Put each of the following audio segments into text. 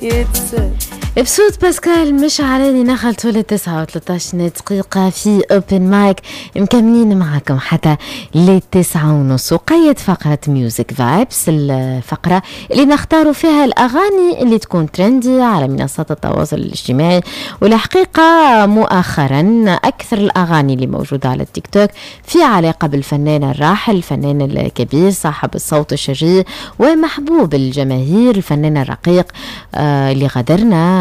يتسال. بصوت باسكال مشعلاني نخلطوا ل 9:13 في open mic، مكملين معاكم حتى ل 9:30. وقيد فقرة Music Vibes، الفقرة اللي نختاروا فيها الأغاني اللي تكون trendy على منصات التواصل الاجتماعي. والحقيقة مؤخرا أكثر الأغاني اللي موجودة على التيك توك في علاقة بالفنان الراحل، الفنان الكبير صاحب الصوت الشجي ومحبوب الجماهير، الفنان الرقيق اللي غادرنا،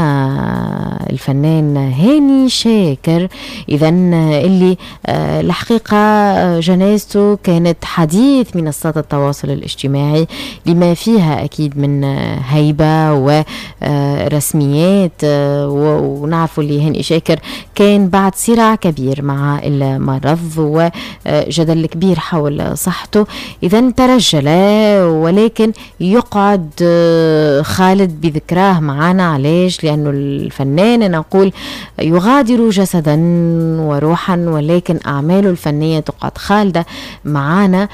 الفنان هاني شاكر. إذا اللي الحقيقة جنازته كانت حديث منصات التواصل الاجتماعي لما فيها أكيد من هيبة ورسميات، ونعرفوا اللي هاني شاكر كان بعد صراع كبير مع المرض وجدل كبير حول صحته. إذا ترجل، ولكن يقعد خالد بذكراه معنا. علاش؟ لأنه الفنان أنا نقول يغادر جسدا وروحا، ولكن أعماله الفنية تقعد خالدة معانا.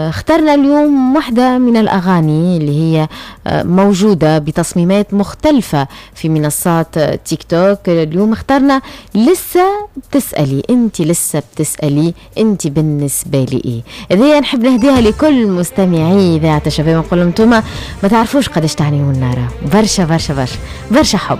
اخترنا اليوم واحدة من الأغاني اللي هي موجودة بتصميمات مختلفة في منصات تيك توك. اليوم اخترنا لسه بتسألي، انت لسه بتسألي انت بالنسبة لي ايه. هذه نحب نهديها لكل مستمعي إذاعة الشباب، نقول لهم انتوما ما تعرفوش قداش تعنيوا النار، برشا برشا برشا برشا حب.